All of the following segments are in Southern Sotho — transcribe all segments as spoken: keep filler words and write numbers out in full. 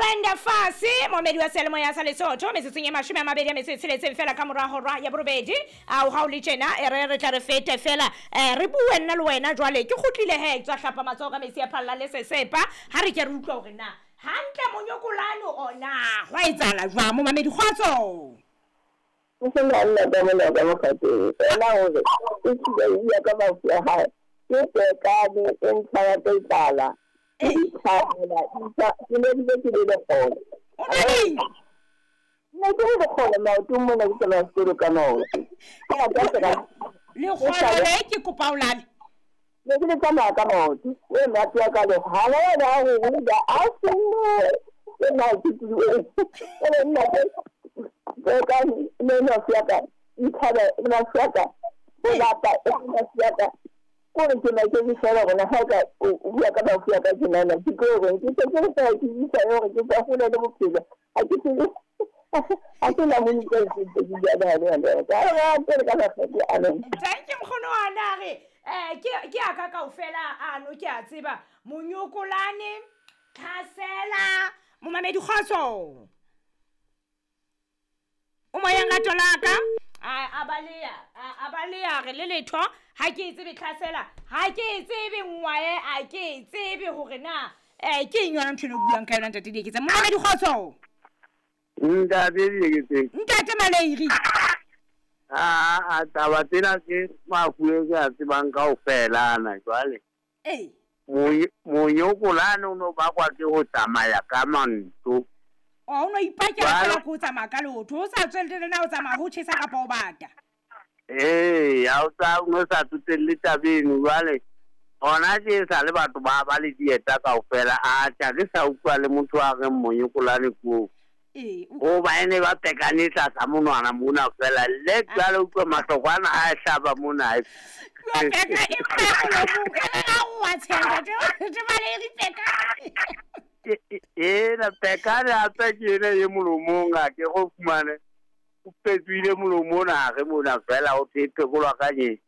Brenda Fassie momedi wa seyalemoya sa Lesotho metsotsong e mashome a mabedi a metso e tsheletseng fela ka mora hora ya borobedi a o ha o le tjena e re re tla re fete fela eh re bue nna le wena jwale ke kgutlile he tswa hlapa matsoho ka metsi a phalla le sesepa ha re ke re utlwa hore na hantle monyokolane ona hwa etsahala jwang momamedi kgotso. O se na nna ka mona ka mokgateng fela hore e tsile ya ka mafu a hae ke tekane e ntsha ya tlala e tlhala e ke ne ke ke le lekgolo o na le ne ke le lekgolo maotong mona ke tsamaya sekolo ka maoto lekgolo le ke kopa o lale ne ke le tsamaya ka maoto e maoto a ka le hala wena a go ruda a senne ke maoto e le nna tekane ne mafu a ka itlhala mafu a ka o lapa mafu a ka kore ke na ke fela gona ha ka o bua ka mafu a ka ke nana ke gore ke se ke sa ke isa hore ke tsa hole le bophelo a ke se a ke na mo ke ke ke ya ba le le ka ra ke ka la ke a le thank you mkhono wa na re eh ke ke a ka kaofela ano ke a tseba monyokolane tlhasela momamedi kgotso o moyeng ka tolaka a balea a balea re le letho ha ke tsebe tlhasela ha ke tsebe ngwae a ke tsebe hore na eh ke eng yona ntho eno buang ka yona ntate Dieketseng momamedi kgotso. Ntate Dieketseng ntate Maleiri a a taba tsena ke mafu e ke a tsebang kaofela ana jwale ee monyokolane o no bakwa ke ho tsamaya ka manto o no ipakela fela ko tsamaya ka leoto o sa tswelle le na o tsamaya ho tjhesa kapa o bata ee ha o sa o sa tsotelle tabeng jwale hona ke sa le batho ba ba le dieta kaofela a tja ke sa utlwa le motho a reng monyokolane ko ee o ba ene ba pekane tlasa monwana mona fela le jwale utlwa mahlokwana a hlaba mona yo peka e molomong e re wa tshenga te Maleiri peka e na pekane hape ke ena e molomong a ke go fumane o petsoile molomo ona re mona fela o phekolwa ka nye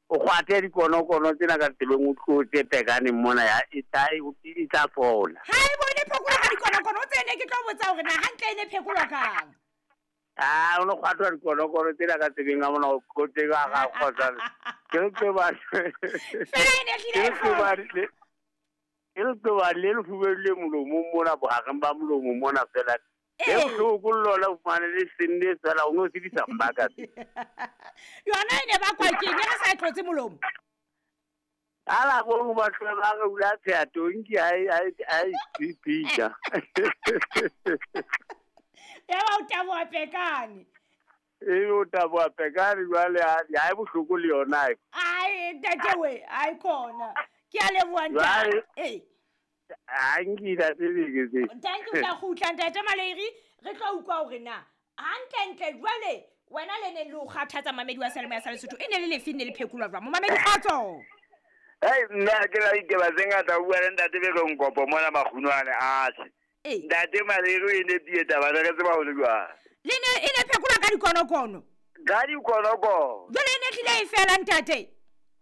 o kgwathe dikonokono tsena ka tseleng o tlotse pekane mona ya e tla e tla fola ha e bone phekolwa ka dikonokono o tsene ke tlo botsa hore na hantle e ne phekolwa kang ah o no kgwathwa dikonokono tsena ka tsebeng a mona o tlotse ka ga kgotsa ke re ke ba fela e ne tlile ke ba e le tloba le le fubelwe molomong mona bohareng ba molomo mona fela e bohloko le lona o fumane le senne fela o no sebedisa mbaka yona e ne bakwa ke eng re sa tlotse molomo ala bo batho ba re ula tsheya tonki a a a ipitsa ya ba o taboha pekane e o taboha pekane jwale ha e bohloko le yona ai ntate we ai khona ke a leboha ntate eh a nkila tsebeke thank you ka kgutla ntate Maleiri re tlo utlwa hore na hantle ntle jwale wena le ne le o kgathatsa mamedi wa seyalemoya sa Lesotho e ne le lefe ne le phekolwa jwang momamedi kgotso hey nna ke la ditaba tse ngata o bua le ntate Beko Nkopo mona Makgunwane atjhe ntate Maleiri e ne tie taba re tseba ho le jwang le ne e ne phekolwa ka dikonokono ka dikonokono jwale e ne tlile e fela ntate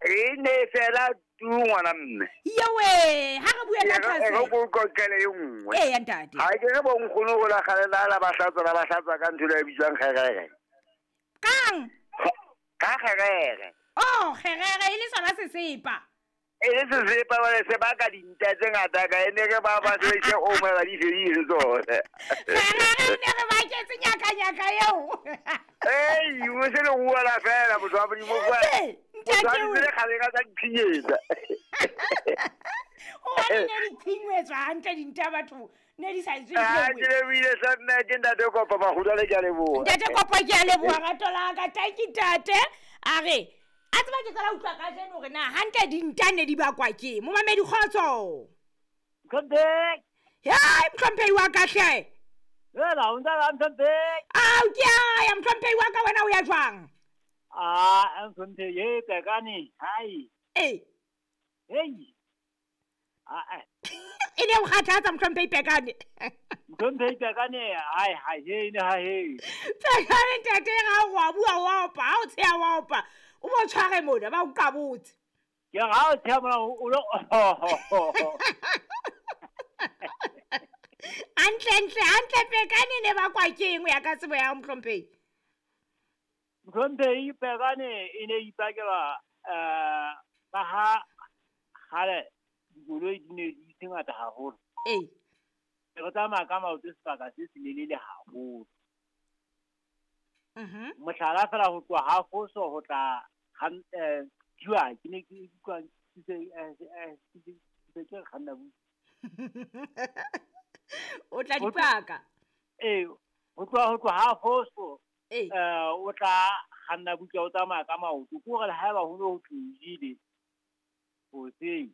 e ne fela tu ngwana mme yewe ha re bue ka tlhase e go kokele e nngwe ee ntate ha ke re bo nkgono go la galela la ba hlatswa la ba hlatswa ka ntho e bitswang kgerere kang ka kgerere oh kgerere e le sona sesepa e le sesepa ba se baka dinta tse ngata ka ene re ba ba se o mo ba di fedile tsone kgerere ne re ba ketse nyaka nyaka eo ei o se le bua fela motho wa Modimo kwa ntate o le gale ka tsa diphinyetsa o wa ne di phinyetswa hantle dinta batho ne di sa itswe ah ke le bile sa nna ke ntate Kopo Makgudwane ke a leboha ntate Kopo ke a leboha rato la ka thank you ntate a re a tseba ke tsala utlwa ka jeno hore na hantle dinta ne di bakwa ke momamedi kgotso Mtlhompheki hei mtlhompheki wa ka hle Hela o ntse mtlhompheki ao ke a ya mtlhompheki wa ka wena o ya jwang ah mtlhompheki e pekane hai eh hey ah eh e ne o kgathatsa mtlhompheki pekane mtlhompheki pekane hai hai he ne ha he pekane ntate ga o bua wa opa ha o tsheya wa opa o mo tshware mona ba o kabotse ke ga o tsheya mona o lo Hantlentle, hantle pekane ne bakwa ke eng ho ya ka tsebo ya hao, mohlomphehi? Mohlomphehi, pekane e ne ipakelwa um ka ha kgale dikoloi di ne di se ngata haholo. Ee. Re tsamaya ka maoto sebaka se selelele haholo. Mhm. Mohlala fela ho tloha ha Foso ho tla eh Diwa, ke ne ke utlwa ke se eh ke se ke kganna bu. O tla dipaka. Eh, ho tloha ho tloha ha Foso Eh. eh o tla kganna buka o tsamaya ka maoto. Ke hore le haeba ho no ho tlohile hoseng,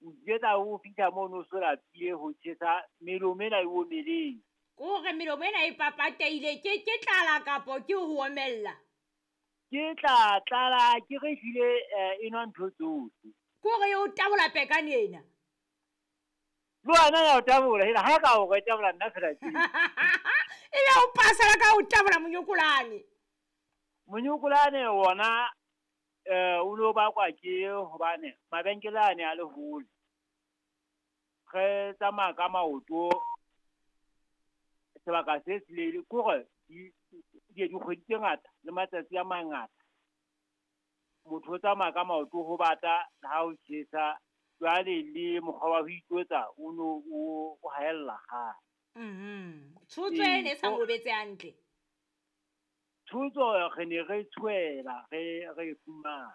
o tla o fihla mono o so lapile ho tjhesa melomo ena e omeleng. Ke hore melomo ena e papateile ke ke tlala kapo ke ho omella? Ke tla tlala ke re hlile e nwa ntho tsohle. Ke hore e o tabola pekane ena. Le wena ya o tabola, hela ha ka o re tabola nna fela tje. Ebe o pasela ka o tabola monyokolane. Monyokolane wona eh o lo bakwa ke hobane mabenkele a ne a le hole. Re tsamaya ka maoto sebaka se selele, ke hore di dikgwedi tse ngata le matsatsi a mangata. Motho o tsamaya ka maoto ho bata le ha ho tjhesa, jwale le mokgwa wa ho itlotsa o no o o haella kgale. Mhm. Tshotso e ne sa ngobetse hantle. Tshotso re ne re tshwela, re re fumana.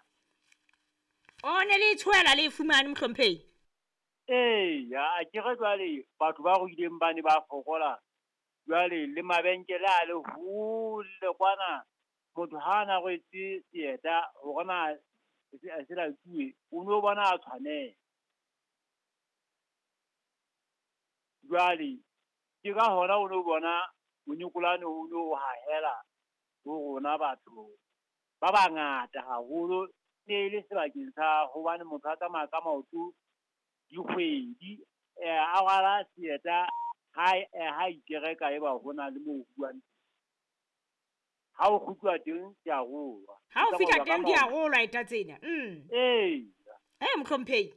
O ne le tshwela le fumane, mohlomphehi? Ee, a ke re jwale batho ba ruileng ba ne ba fokola. Jwale le mabenkele a le hole kwana, motho ha ana rwetse seeta hore na se latuwe, o no bona a tshwanela. Jwale ke ka hona o no bona monyokolane o no hahela ho rona batho ba bangata haholo. Ne le sebakeng sa hobane motho a tsamaya ka maoto dikgwedi, a rwala seeta ha ha ikereka eba hona le moo ho buang. Ha o kgutluwa teng di a rolwa. Ha o fihla teng di a rolwa eta tsena. Mm. Ee. Eh, mohlomphehi.